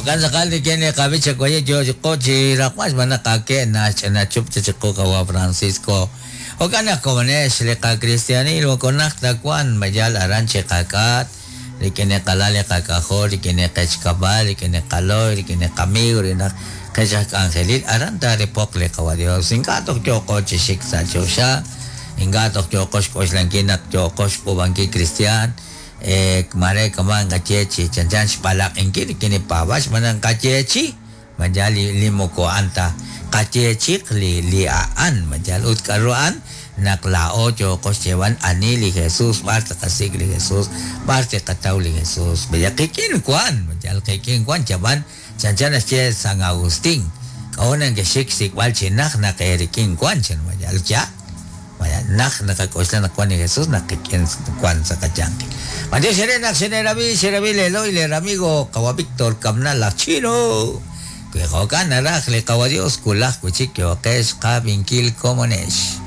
Jo'kan tz'aqal rik'in li qab'ich xawaye yo chiqu chi raqb'al xb'aan naq ake' naxch'ina chup chi chiqu qawa' Francisco. Jo'kan naq komonex li qakristianil moko najt ta wan ma yal aran chi qak'at rik'in li qalal li qak'ajol rik'in li qech kab'al rik'in li qalo'y rik'in li qamiiw rik'in aj qech aj k'anjelil aran taaripoq li qawa' Dios. Ink'a' toj yooqo chi xik sa' choxa ink'a' toj yooqo xk'oxlankil naq yooqo xk'uub'ankil kristiaan Mare kama' nqaye chi chanchan xb'alaq'inkil rik'in li paab'aal xb'aan naq nqayeechi ma yaal li li moko a'an ta qayeechiq li li a'an ma yaal ut k'a'ru a'an naq laa'o yooqo xyeeb'al ani li Jesús b'ar tqasik' li Jesús b'ar tiqataw li Jesús ma yaal qik'in wan ma yaal qik'in wan chab'an chanchan naxye San Agustín k'a'ut nekexxik xsik'b'al chi najt naq eerik'in wan chan ma yaal yaal Naq naqak'oxla naq wan li Jesús naq qik'in wan sa' qayanq. B'antiox eere naq xineerab'i, xerab'i leelo'y leeramigo qawa' Víctor Cabnal laj Chino. Wi jo'kan naraj li qawa' Dios wulaj wi' chik yooqex qab'inkil komonex.